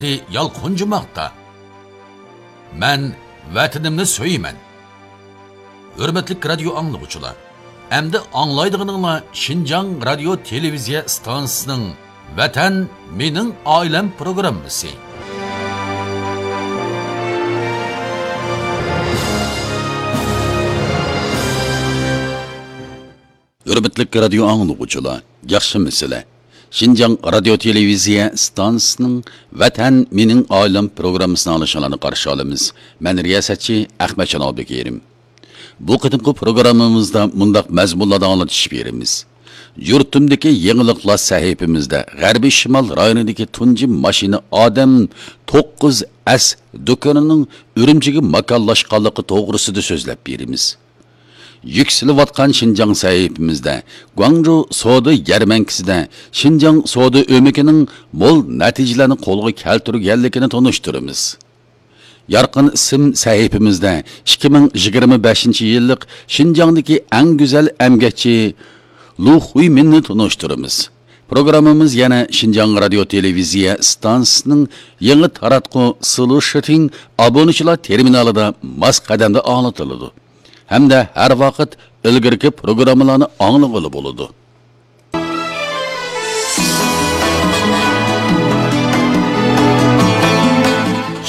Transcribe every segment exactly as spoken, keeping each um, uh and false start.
يالقۇنجىماقتا. مەن ۋەتىنىمنى سۆيىمەن. ھۆرمەتلىك رادىيو ئاڭلىغۇچىلار، ئەمدى ئاڭلايدىغىنىڭلار شىنجاڭ رادىيو تېلېۋىزىيە ئىستانسىسىنىڭ ۋەتەن مېنىڭ ئائىلەم پروگراممىسى. ھۆرمەتلىك رادىيو ئاڭلىغۇچىلار، ياخشىمۇسىلەر؟ شىنجاڭ رادىيو تېلېۋىزىيە ئىستانسىسىنىڭ ۋەتەن مېنىڭ ئائىلەم پروگراممىسىنى ئاڭلىشىڭلارنى قارشى ئالىمىز. مەن رىياسەتچى ئەخمەتجان ئابدۇكېرىم. بۇ قېتىمقى پروگراممىمىزدا مۇنداق مەزمۇنلاردا ئاڭلىتىش بېرىمىز. يۇرتۇمدىكى يېڭىلىقلار سەھىپىمىزدە غەربىي شىمال رايونىدىكى تۇنجى ماشىنا ئادەم توققۇز ئەس دۇكىنىنىڭ ئۈرۈمچىگە ماكانلاشقانلىقى توغرىسىدا سۆزلەپ بېرىمىز. يۈكسىلىۋاتقان شىنجاڭ سەھىپىمىزدە گۇاڭجۇ سودا يەرمەنكىسىدە شىنجاڭ سودا ئۆمىكىنىڭ مول نەتىجىلەرنى قولغا كەلتۈرگەنلىكىنى تونۇشتۇرىمىز. يارقىن ئىسىم سەھىپىمىزدە ئىككى مىڭ يىگىرمە بەشىنچى يىللىق شىنجاڭدىكى ئەڭ گۈزەل ئەمگەكچى لۇ خۇيمىننى تونۇشتۇرىمىز. پروگراممىمىز يەنە شىنجاڭ رادىيو تېلېۋىزىيە ئىستانسىسىنىڭ يېڭى تاراتقۇ سلۇشىتىڭ ئابۇنىچىلار تېرمىنالىدا ماس قەدەمدە ئاڭلىتىلىدۇ ھەمدە ھەر ۋاقىت ئىلگىرىكى پروگراممىلارنى ئاڭلىغىلى بولىدۇ.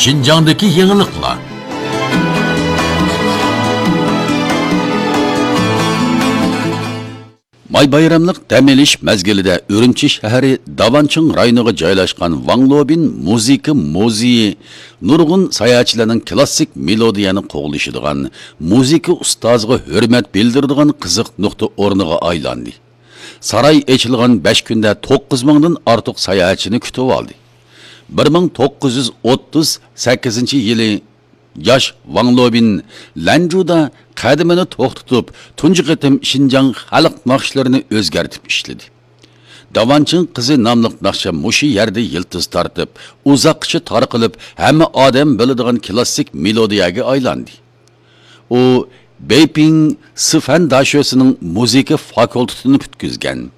شىنجاڭدىكى يېڭىلىقلار. ماي بايراملىق دەم ئېلىش مەزگىلىدە ئۈرۈمچى شەھىرى داۋانچىڭ رايونىغا جايلاشقان ۋاڭ لوبىن مۇزىكا مۇزېيى نۇرغۇن ساياھەتچىلەرنىڭ كلاسسىك مېلودىيەنى قوغلىشىدىغان، مۇزىكا ئۇستازىغا ھۆرمەت بىلدۈرىدىغان قىزىق نۇقتا ئورنىغا ئايلاندى. ساراي ئېچىلغان بەش كۈندە توققۇز مىڭدىن ئارتۇق ساياھەتچىنى كۈتۈۋالدى. بىر مىڭ توققۇز يۈز ئوتتۇز سەككىزىنچى يىلى ياش ۋاڭ لوبىن لەنجۇدا قەدىمىنى توختىتىپ، تۇنجى قېتىم شىنجاڭ خەلق ناخشىلىرىنى ئۆزگەرتىپ ئىشلىدى. داۋانچىڭ قىزى ناملىق ناخشا مۇشۇ يەردە يىلتىز تارتىپ، ئۇزاققىچە تارقىلىپ، ھەممە ئادەم بىلىدىغان كلاسسىك مېلودىيەگە ئايلاندى. ئۇ بېيپىڭ سىفەن داشۆسىنىڭ مۇزىكا فاكۇلتېتىنى پۈتكۈزگەن.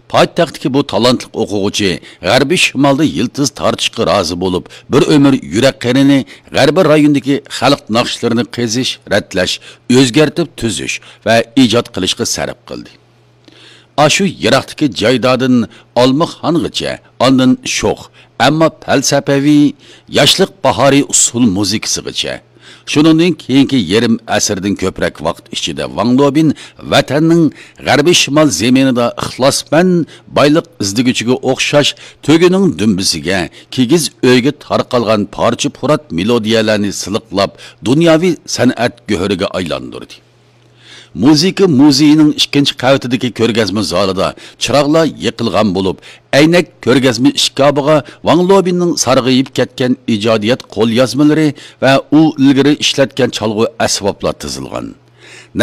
پايتەختتىكى بۇ تالانتلىق ئوقۇغۇچى غەربىي شىمالدا يىلتىز تارتىشقا رازى بولۇپ، بىر ئۆمۈر يۈرەك قېنىنى غەربىي رايوندىكى خەلق ناخشىلىرىنى قېزىش، رەتلەش، ئۆزگەرتىپ تۈزۈش ۋە ئىجاد قىلىشقا سەرپ قىلدى. ئاشۇ يىراقتىكى جايدادىن ئالمىخانغىچە، ئاندىن شوخ، ئەمما پەلسەپىۋى ياشلىق باھارى ئۇسسۇل مۇزىكىسىغىچە، شۇنىڭدىن كېيىنكى يېرىم ئەسىردىن كۆپرەك ۋاقىت ئىچىدە ۋاڭ لوبىن ۋەتەننىڭ غەربىي شىمال زېمىنىدا ئىخلاسمەن بايلىق ئىزدىگۈچىگە ئوخشاش تۆگىنىڭ دۈمبىسىگە، كىگىز ئۆيگە تارقالغان پارچە-پۇرات مېلودىيەلەرنى سىلىقلاپ، دۇنياۋى سەنئەت گۆھىرىگە ئايلاندۇردى. مۇزىكا مۇزېيىنىڭ ئىككىنچى قەۋىتىدىكى كۆرگەزمە زالىدا چىراغلار يېقىلغان بولۇپ، ئەينەك كۆرگەزمە ئىشكاپىغا ۋاڭ لوبىننىڭ سارغىيىپ كەتكەن ئىجادىيەت قوليازمىلىرى ۋە ئۇ ئىلگىرى ئىشلەتكەن چالغۇ ئەسۋابلار تىزىلغان.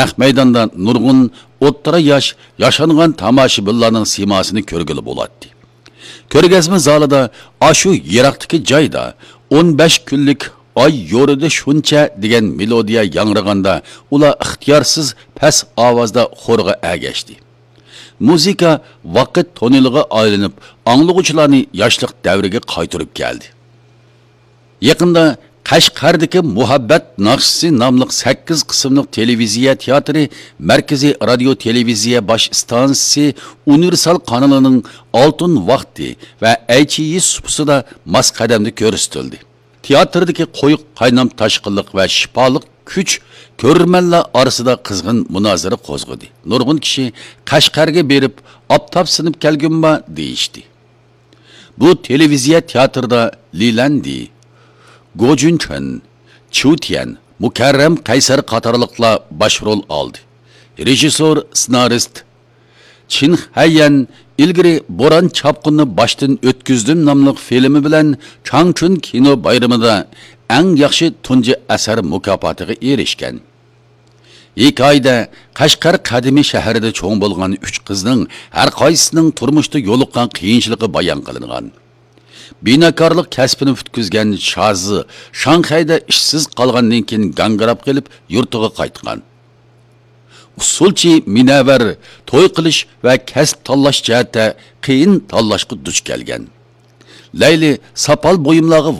نەق مەيداندا نۇرغۇن ئوتتۇرا ياش، ياشانغان تاماشىبىنلارنىڭ سىيماسىنى كۆرگىلى بولاتتى. كۆرگەزمە زالىدا ئاشۇ يىراقتىكى جايدا ئون بەش كۈنلۈك ئاي يورۇدى شۇنچە دېگەن مېلودىيە ياڭرىغاندا، ئۇلار ئىختىيارسىز پەس ئاۋازدا خورغا ئەگەشتى. مۇزىكا ۋاقىت تونېلىغا ئايلىنىپ، ئاڭلىغۇچىلارنى ياشلىق دەۋرىگە قايتۇرۇپ كەلدى. يېقىندا قەشقەردىكى مۇھەببەت ناخشىسى ناملىق سەككىز قىسىملىق تېلېۋىزىيە تىياتىرى مەركىزىي رادىيو تېلېۋىزىيە باش ئىستانسىسى ئۇنىۋېرسال قانىلىنىڭ ئالتۇن ۋاقتى ۋە ئەيچىيى سۇپىسىدا ماس قەدەمدە كۆرسىتىلدى. تىياتىردىكى قويۇق قاينام تاشقىنلىق ۋە شىپالىق كۈچ كۆرۈرمەنلەر ئارىسىدا قىزغىن مۇنازىرە قوزغىدى. نۇرغۇن كىشى قەشقەرگە بېرىپ، ئاپتاپ سىنىپ كەلگۈم بار دېيىشتى. بۇ تېلېۋىزىيە تىياتىرىدا لى لەندى، گو جۈنچۈەن، چيۇ تيەن، مۇكەررەم قەيسەر قاتارلىقلار باش رول ئالدى. رېژىسسور، سېنارىست چىن خەييەن ئىلگىرى بوران چاپقۇننى باشتىن ئۆتكۈزدۈم ناملىق فىلىمى بىلەن چاڭچۈن كىنو بايرىمىدا ئەڭ ياخشى تۇنجى ئەسەر مۇكاپاتىغا ئېرىشكەن. ھېكايىدە قەشقەر قەدىمىي شەھىرىدە چوڭ بولغان ئۈچ قىزنىڭ ھەر قايسىسىنىڭ تۇرمۇشتا يولۇققان قىيىنچىلىقى بايان قىلىنغان. بىناكارلىق كەسپىنى پۈتكۈزگەن شازى شاڭخەيدە ئىشسىز قالغاندىن كېيىن گاڭگىراپ قېلىپ يۇرتىغا قايتقان. ئۇسسۇلچى مىنەۋەر توي قىلىش ۋە كەسىپ تاللاش جەھەتتە قىيىن تاللاشقا دۇچ كەلگەن. لەيلى ساپال بۇيۇملارغا